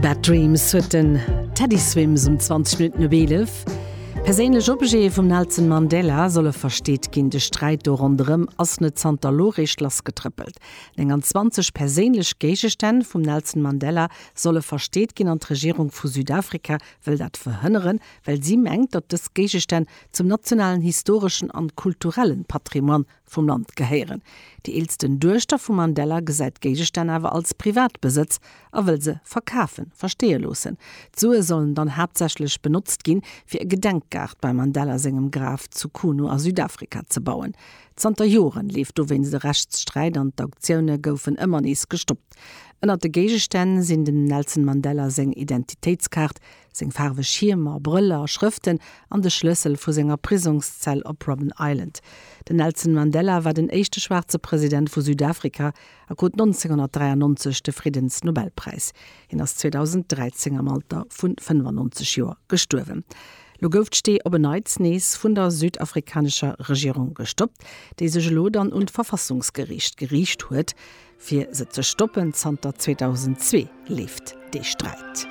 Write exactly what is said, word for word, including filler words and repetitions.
Bad Dreams huet den Teddy Swims um zwanzeg Minutten op eelef. Perséinlech Objete vum Nelson Mandela solle versteet ginn. De Sträit do ronderëm ass net zanter elo réischt lassgetrëppelt. nénganzwanzeg perséinlech Géigestänn vum Nelson Mandela solle versteet ginn an d'Regierung vu Südafrika wëll dat verhënneren, well si mengt, datt dës Géigestänn zum nationalen historeschen an kulturellen Patrimoine vum Land gehéieren. Déi eelsten Duechter vum Mandela gesäit d'Géigestänn awer als Privatbesëtz a wëll se verkafen, versteeë loossen. D'Sue sollen dann haaptsächlech benotzt ginn, fir e Gedenkgaart beim Mandela sengem Graf zu Qunu a Südafrika ze bauen. Zanter Joren leeft dowéinst e Rechtssträit an d'Auktioune goufen ëmmer nees gestoppt. Ënnert de Géigestänn sinn dem Nelson Mandela seng Identitéitskaart, seng faarweg Schiermer, Brëller, Schrëften an de Schlëssel vu senger Prisongszell op Robben Island. Den Nelson Mandela war den éischte schwaarze President vu Südafrika a krut nonzénghonnertdräiannonzeg de Friddensnobelpräis. Hien ass zweedausenddräizéng am Alter vu fënnefannonzeg Joer gestuerwen. Lo gouf d'Stee op en Neits nees vun der südafrikanescher Regierung gestoppt, déi sech elo dann un d'Verfassungsgeriicht geriicht huet, fir se ze stoppen. Zanter zweedausendzwee leeft dee Sträit.